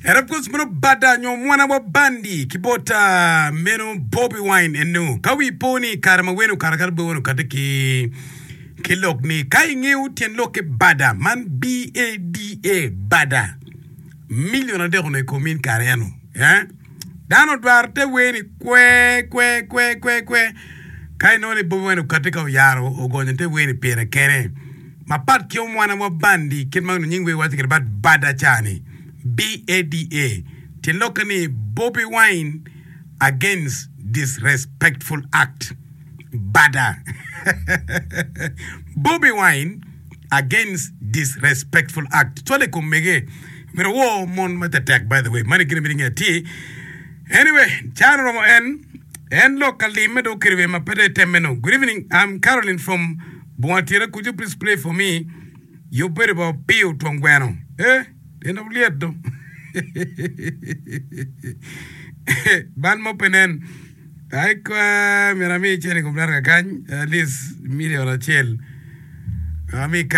And of course meno bada nyo mwana wa bandi ki bot meno Bobi Wine enu. Ka wi po ni kare ma wene okato kata Bobi Wine okate ki ki lok ni ka ingeyo tyen lok ki bada man B-A-D-A bada million adek onongo i kom in kare eno. Eh? Dano odwaro te wer ni kwe kwe kwe kwe kwe ka inongo ni Bobi Wine okati ka oyaro ogonyo te wer ni pire kene. Mapat ki omwana wa bandi kit ma onongo nying wer waco kwede bat bada ca ni, BADA, tyen lokke ni Bobi Wine Against Disrespectful Act. Bada. Bobi Wine Against Disrespectful Act. Cwale i kom mege. Myero wor mon ma tetek by the way. Mani gin myero inge atir. Anyway, can oromo en. En lok ka limme dong okelo wiye ma pe dong itemme nongo. Good evening, I'm Caroline from Bunga Tira. Could you please play for me Yub bedo ba opiyo twong gweno. Eh, en dong lyet do. Bal mo pe nen. Ai kwa, myero ami cene i kom dano kakany, at least million acel. Ami ka.